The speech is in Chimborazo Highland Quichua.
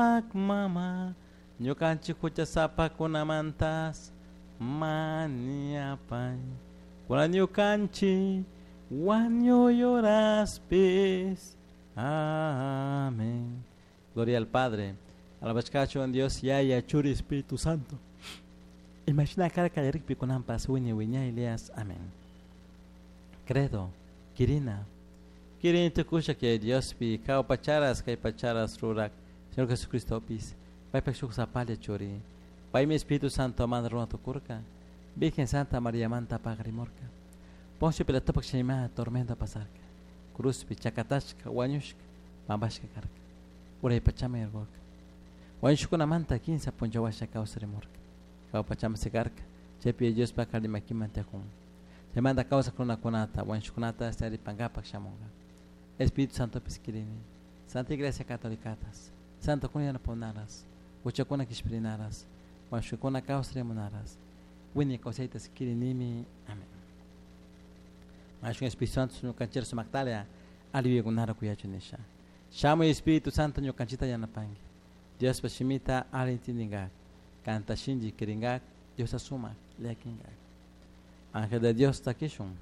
Sumac mama, ñukanchik huchasapakunamantas mañapay. Kunan ñukanchik wañuy horaspis. Amén. Gloria al Padre, alabashkachu Dios Yaya, Churi, Espíritu Santo. Imagina karka yarikpi kunanpas wiñay wiñay leas. Amén. Credo, Kirina. Kirin tukusha que Diospi, kau pacharas, kay pacharas rurak, Señor Jesucristo pis, paypak shuk sapalla churi, paymi Espíritu Santo manda runa tukurka, Virgen Santa María manta pagrimurka. Poncio Pilatopak shayma tormenta pasarka, cruzpi chakatashka, wañushka, pampashka karka, uray pachama yargurka. Wañushkunamanta kinsa punchawasha kawsarimurka. Kau pachama sikarka, chaypi Diospa kalimakiman tiyakun. Chaymanta kawsak runakunata, wañushkunata saripankapak shamunka. Espíritu Santo kirini, Santa Iglesia Católicatas, Santo kuna yanapunaras, huchakuna kishpirinaras, wañushkakuna kawsarimunaras, wiñay kawsaytas kirinimi. Amén. Mashun Espíritu Santo ñukanchik sumaktalia aliyukunara kuyachun nisha. Shamuy Espíritu Santo ñukanchikta yanapanki. Diospa shimita alli intindinkak, kanta shinchi kirinkak, Diosta sumak llakinkak. Ángel de Dios takishun.